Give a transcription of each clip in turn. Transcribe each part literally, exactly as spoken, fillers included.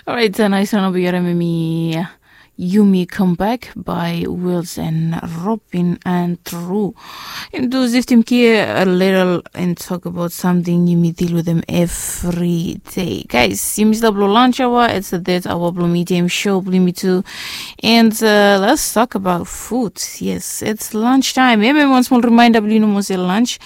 Alright, a nais wan o bi yare memi Yumi Come Back by Wills and Robin and True. Im tu ziftim kia a little and talk about something yumi deal with them every day. Guys, yumi stap lo lunch hour, it's the dead hour blo medium show blo yumi tu. And uh, let's talk about food. Yes, it's lunch time. Maybe one small reminder blo you know mostly lunch.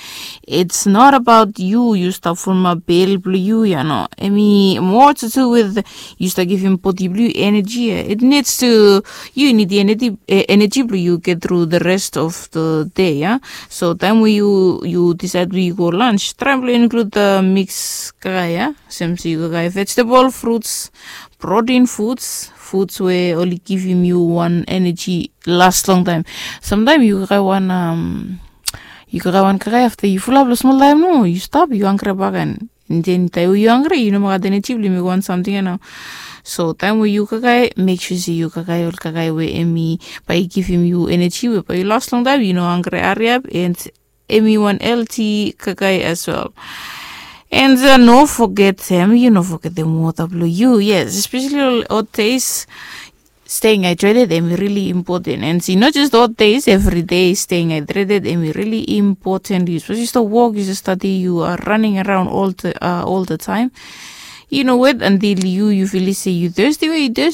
It's not about you, you stop from a bill blo you, you know. I mean, more to do with you start giving body blue energy. It needs to you need the energy uh, energy blue you get through the rest of the day, yeah. So time where you you decide where you go lunch, try to include the mix kaka, yeah. Same so you kaka vegetable, fruits, protein foods, foods where only give him you one energy last long time. Sometimes you kaka one um you kaka one kaka after you full up lo small time, no, you stop, you hungry back and then time you hungry, you no matter energy blue you make one something, you know. So time where you kaka, make sure say you kaka ol kaka where emi by give him you energy where by you last long time, you no hungry, hurry up and emi one L T kaka as well. And uh, no forget them, you no forget them water blue you, yes, especially all hot days. Staying hydrated emi really important, and see not just hot days, every day staying hydrated emi really important. You supposed to walk, you just study, you are running around all the uh, all the time. You know what? Until you you feel say you thirsty, where you thirsty